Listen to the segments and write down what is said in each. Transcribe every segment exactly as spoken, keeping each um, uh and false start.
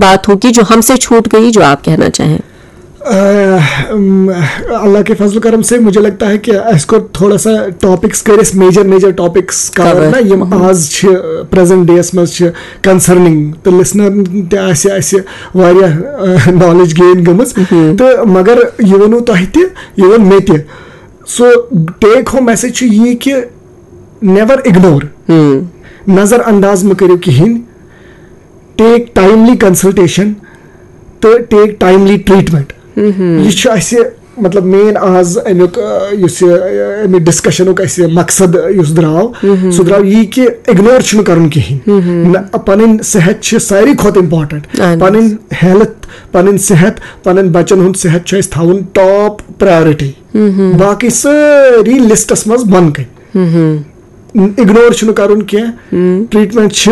बात हो कि जो हमसे छूट गई, जो आप कहना चाहें? अम, अल्लाह के फजल करम से मुझे लगता है कि इसको थोड़ा सा टॉपिक्स करें, major major topics cover Cover. ना, यम आज छ प्रेजेंट डेस मज छ कंसर्निंग, तो लिसनर ते आसे आसे वारिया नॉलेज गेन गमस। तो मगर ये वनो तहति, ये वन मेते। सो टेक होम मैसेज छ ये कि नेवर इग्नोर, नजरअंदाज म करियो किहिन। टेक टाइमली कंसल्टेशन तो टेक टाइमली ट्रीटमेंट। ये छ असे, मतलब, मेन आज अमुक, अ, युस ये, अ, अमि डिस्कशनुक असे मकसद युस द्राव, सो द्राव ये कि इग्नोर छुन करन किहिन। न, पनन सेहत छ सारी खोत इम्पोर्टेंट। اہن حظ۔ पनन हेल्थ, पनन सेहत, पनन बचन हुन सेहत छ अस थाउन टॉप प्रायोरिटी। बाकी सारी लिस्टस मज बन कन। इग्नोर छुन करन किया। ट्रीटमेंट छ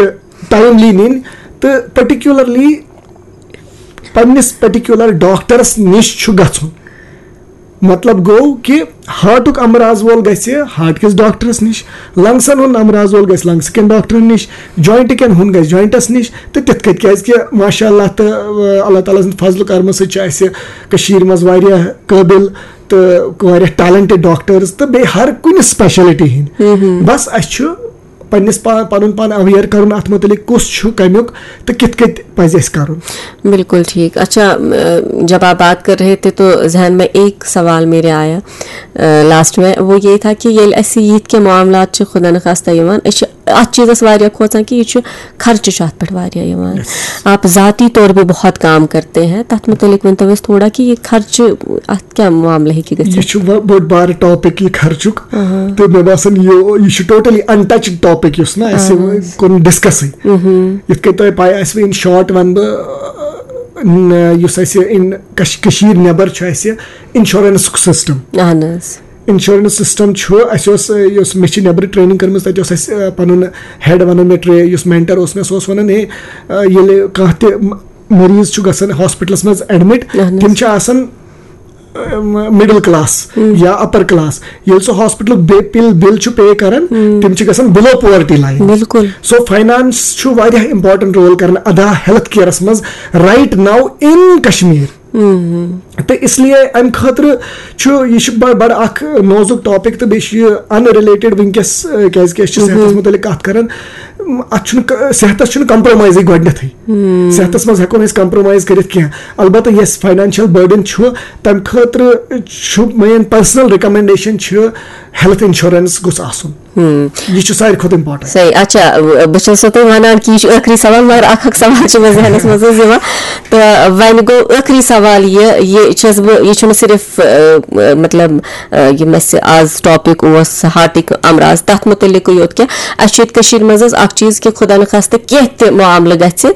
टाइमली निन तो पर्टिकुलरली पन्निस पर्टिकुलर डॉक्टरस निश छु गछुन। मतलब गो कि हार्टुक अमराज वोल गसे हार्ट किस डॉक्टरस निश, लंग्सन हुन अमराज वोल गस लंग्स किन डॉक्टर निश, जॉइंट किन हुन गस जॉइंटस निश। तो तित कत, क्या कि माशाल्लाह तो अल्लाह ताला सद फजल करम सत कशीर मज वारिया काबिल तो वारिया टैलेंटेड डॉक्टर्स तो बे हर कुन स्पेशलिटी हिंद। बस अस छु पन्निस पा-, पनुन पान अवेयर करन अत मुतलिक कुस छु कमियुक तो कित कत पज अस करन। बिल्कुल ठीक। अच्छा, अ, जब आप बात कर रहे थे तो जहन में एक सवाल मेरे आया लास्ट में, वो ये था कि ये ऐसे ईद के मामला खुदा न खास्ता यवान, अस छु अत चीजस वारिया खोचान कि ये छु खर्च छु अत पे वारिया यवान। आप जाती तौर पे बहुत काम करते हैं, तथ मुतलिक वन तो थोड़ा कि ये खर्च अत क्या मामला है कि गए? ये छु ब-, बोड़ बार टॉपिक ये खर्चुक। तो मे बासन ये, ये छु टोटली अनटच्ड टॉपिक युस ना अस कुन डिस्कस। यित कन तोय पाय आसि, इन शॉर्ट वन ब, अ, न, युस अस इन कश-, कशीर नेबर छु अस इंश्योरेंस सिस्टम। اہن حظ۔ इंश्योरेंस सिस्टम छु अस, अ, युस मे छु नेबर ट्रेनिंग करमस, तत अस, अ, पनुन हेड वनन मे ट्रे, युस मेंटर ओस मे, सो ओस वनन, हे, अ, येले कांह ते म-, मरीज छु गसन हॉस्पिटलस मज एडमिट, اہن حظ۔ तिम छु आसन मिडिल क्लास या अपर क्लास, ये सो हॉस्पिटल बे-, बिल, बिल छु पे करन, तिम छु गसन बिलो पॉवर्टी लाइन। बिल्कुल। सो फाइनेंस छु वारिया इंपॉर्टेंट रोल करन अदा हेल्थ केयरस मज right now in Kashmir। तो इसलिए अम खतर छु, ये छु ब-, बड़ अख नोजुक टॉपिक तो बेश ये अनरिलेटेड विंकस, अ, क्या सेहतस मुतलिक कत करन। अत छुन क-, सेहतस छुन कम्प्रोमाइज गोडनथै। सेहतस मज हेको नस कम्प्रोमाइज करित किया। अलबत्ता यस फाइनेंशियल बर्डन छु, तम खतर छु मेन पर्सनल रिकमेंडेशन छु हेल्थ इंश्योरेंस गुस आसुन। ये छु सारी खुद इंपॉर्टेंट। सही। अच्छा, ब-, बस छु तो वनान कि ये छु आखिरी सवाल, मगर अख अख सवाल छु मेरे जहनस मज यवान। तो वन गो आखिरी सवाल ये, ये छस ब-, ये छु सिर्फ, अ, अ, मतलब, अ, ये मस आज टॉपिक ओस हार्टिक अमराज, तथ मुतलिक योत क्या, अस छु कशीर मज अख चीज कि खुदा न खास्ते केह ते मामले गछ,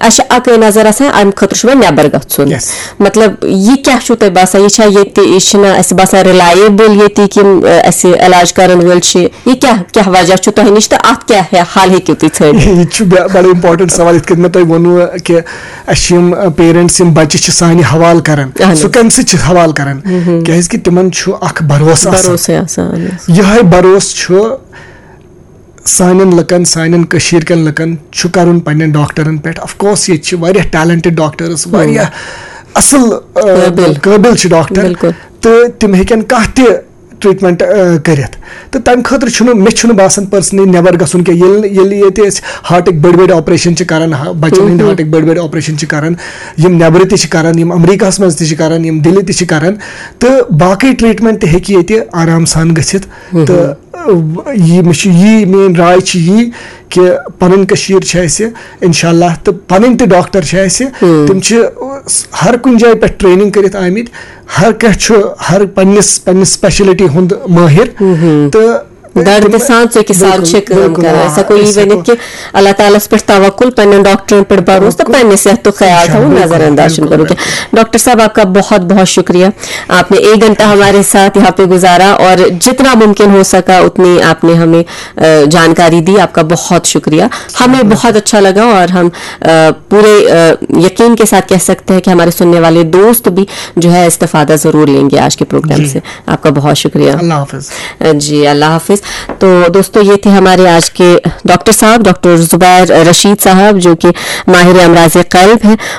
अस छु अक नजर आसान, अम खतर छु वोन नेबर गछुन। Yes। मतलब, ये क्या छु तोय बासा, ये छा ये ते, ये छना अस बासा रिलायबल ये ते कि, अ, अस इलाज करन वोल छु, ये क्या, क्या वजह छु तोह निश तो अत क्या है, हाल हेकिव तुम छाड़ित? ये छु ब-, बड़ा इंपॉर्टेंट सवाल, इत कन मे तोय वोनु कि अस यम, अ, पेरेंट्स यम बच्चे छु सानि हवाल करन, اہن حظ۔ सो कम से छु हवाल करन, क्या कि तिमन छु अख भरोसा आसान। भरोसे आसान। यह भरोस छु सानन लकन, सानन कशीर कन लकन छु करन पन्नन डॉक्टरन पेठ। Of course, ये छु वारिया टैलेंटेड डॉक्टर्स, वारिया असल, अ, काबिल। काबिल छु डॉक्टर। बिल्कुल। तो तिम हेकन काह ते ट्रीटमेंट, अ, करित। तो तम खतर छुन, मे छुन बासन पर्सनली नेबर गसुन के, येल, येल ये ते हार्टिक बड़ बड़ ऑपरेशन छु करन, हा, बच्चन हिंद हार्टिक बड़ बड़ ऑपरेशन छु करन, यम नेबर ते छु करन, यम अमेरिका मज ते छु करन, यम दिल्ली ते छु करन, तो बाकी ट्रीटमेंट ते हेकि ये ते आराम सान गसित। तो अ, ये मे छु, ये मेन राय छु ये कि पनन कशीर छु अस, इंशाल्लाह, तो पनन ते डॉक्टर छु अस, तिम छु हर कुन जाय पे ट्रेनिंग करित आमित, हर कह छु हर पन्निस, पन्निस स्पेशलिटी हुंद माहिर। तो दर्द तिम- सान से के साथ बिल्कुल, छे काम बिल्कुल, करा। हाँ, ऐसा कोई ऐसा वनित को- कि अल्लाह ताला पर तवक्कुल, पन्ने डॉक्टर पर भरोसा, तवक्कुल। पन्ने सेहत तो ख्याल था, वो बिल्कुल, नजरअंदाज बिल्कुल, करो। बिल्कुल। डॉक्टर साहब, आपका बहुत बहुत शुक्रिया, आपने एक घंटा हमारे साथ यहाँ पे गुजारा और जितना मुमकिन हो सका उतनी आपने हमें, अ, जानकारी दी। आपका बहुत शुक्रिया, हमें बहुत अच्छा लगा और हम, अ, पूरे, अ, यकीन के साथ कह सकते हैं कि हमारे सुनने वाले दोस्त भी जो है इस्तिफादा जरूर लेंगे आज के प्रोग्राम जी। से। आपका बहुत शुक्रिया। अल्लाह हाफिज। जी, अल्लाह हाफिज। तो दोस्तों, ये थे हमारे आज के डॉक्टर साहब, डॉक्टर जुबैर रशीद साहब, जो कि माहिर अमराज कल्ब हैं।